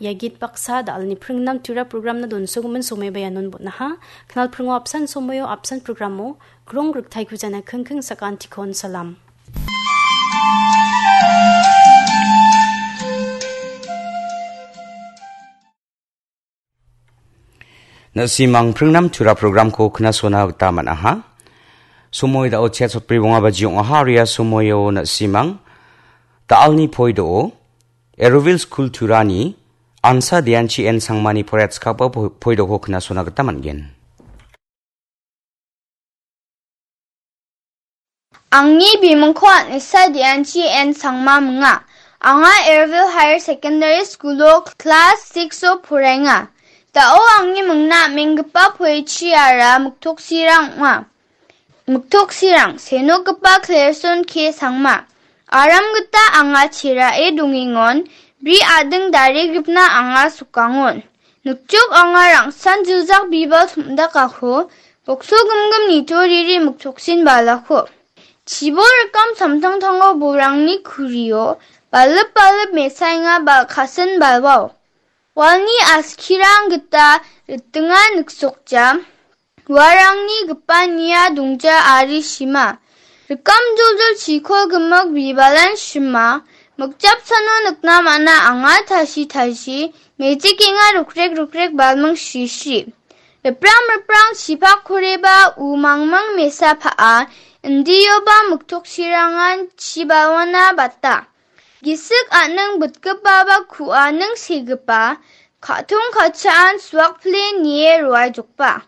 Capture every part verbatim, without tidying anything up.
Ia git baksa da·alni pringnam tura programna donsogimin somoiba ianon bon·aha. Knal pringo apsan somoio apsan programo krong riktaiko jana kingking sakantikon salam. Na·simang pringnam tura programko knasona gita man·aha. Somoi da·o chet sotbri bonga baji ong·aha, aro ia somoio na·simang da·alni poido Eroville School Turani Ansa Deanchi N Sangmani poraiatskaba po-, poidoko knasona gita man·gen. Angni bimingko Anisa Deanchi N Sangma minga. Anga Eroville Higher Secondary School-o class six-o poraenga. Da·o angni mingna am·enggipa poechiara miktoksirang ong·a. Miktoksirang, senogipa Klerson K Sangma. Aram gita anga cherae dongengon, bri ading daregipna anga sukangon. Nikjuk anga rangsan jiljak bibal tom·dakako, bokso gimgim nitoriri miktoksin balako. Chibol rikam samtangtango borangni kurio, balip balip mesaenga bal-, kasin balwao. Walni askirang gita ritinga niksokja. Uarangni gipa nia dongja ari shima. Rikam joljol chikol gimik bibalan shima. Mikjapsano nikna man·a anga tashi tashi. Mejikenga rukrek rukrek balming shri shri. Riprang riprang chipak koreba u mangmang mesa pa·a. Indioba miktoksirangan chibalwana bata. Gisik an·ning bitgipaba ku·aning segipa, ka·tong ka·chaan suakpile nie roaijokba.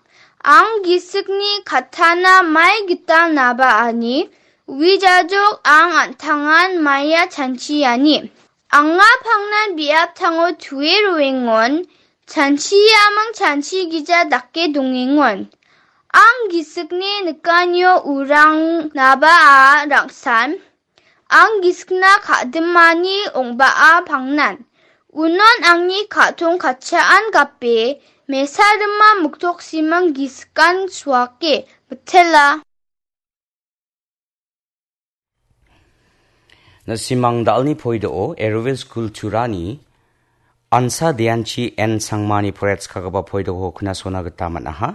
Ang gisikni kattana mai gital naba ani, uijajok ang an·tangan maia chanchiani. Anga pangnan biaptango tue roengon, chanchiamang chanchigija dake dongengon. Ang gisikni nikanio urang naba a rangsan, ang gisikna ka·dimani ong·baa pangnan. Unon angni ka·tong ka·chaan gape, mesa rima miktoksimang gisikan suake, mitela. Na·simang da·alni poido-o Eroville School Turani Ansa Deanchi N Sangmani poraiatskagipa poidoko knasona gita man·aha.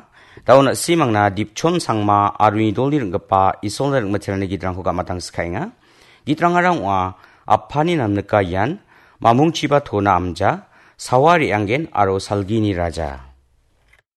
Da·o na·simangna Dipchon Sangma aro nidolni ring·gipa Isolna ring·miterangni gidrangko gamatang skaenga. Gidrangara ong·a Apani namnika ian, Mamungchiba Tona Amja, Sawa Re·anggen aro Salgini Raja.